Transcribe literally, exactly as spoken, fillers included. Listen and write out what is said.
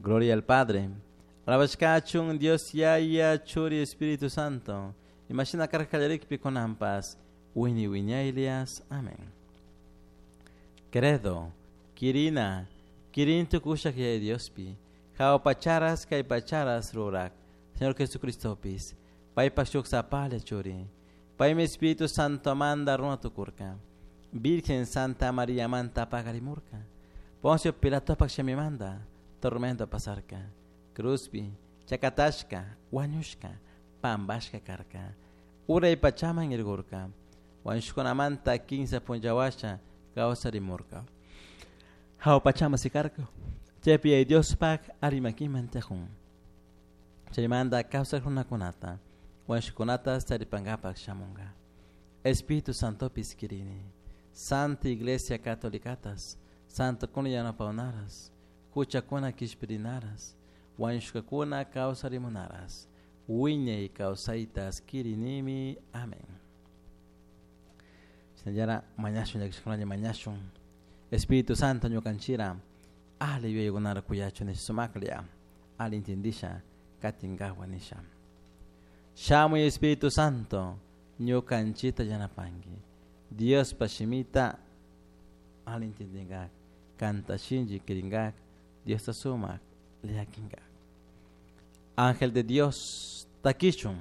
Gloria al Padre. Alabashkachun Dios Yaya Churi Espíritu Santo. Imashina karka kallarikpi kunanpas. Wini wiñaylias. Amén. Credo. Kirina. Kirin tukushak Yaya Diospi. Hawa pacharas kay pacharas rurak. Señor Jesucristopis. Paypak shuk sapalla churi. Paymi Espíritu Santo manda runa tukurka. Virgen Santa María manta pagarimurka. Poncio Pilatopak shamimanda tormento pasarka. Cruzpi, chakatashka, wañushka, pambashka karka. Uray pachaman irgurka. Wañushkunamanta kinsa punllawasha kawsarimurka. Hawa pachama sikarka. Chaypi Yaya Diospak arimakiman tiyakun. Chaymanta kawsak runakunata, wañushkunata taripankapak shamunka. Espíritu Santopis kirini. Santa Iglesia Catolicatas, Santokuna yanapawnaras, huchakuna kishpirinaras, wañushkakuna kawsarimunaras, wiñay kawsaytas kirinimi. Amén. Shinallara mañashun llakishkunalla mañashun. Espíritu Santo ñukanchira ali yuyaykunara kuyachun nisha sumaklla ali intindisha katinkawa nisha. Shamuy Espíritu Santo ñukanchita yanapanki. Diospa shimita ali intindinkak, kanta shinchi kirinkak, Diosta sumak llakinkak. Ángel de Dios, takichun.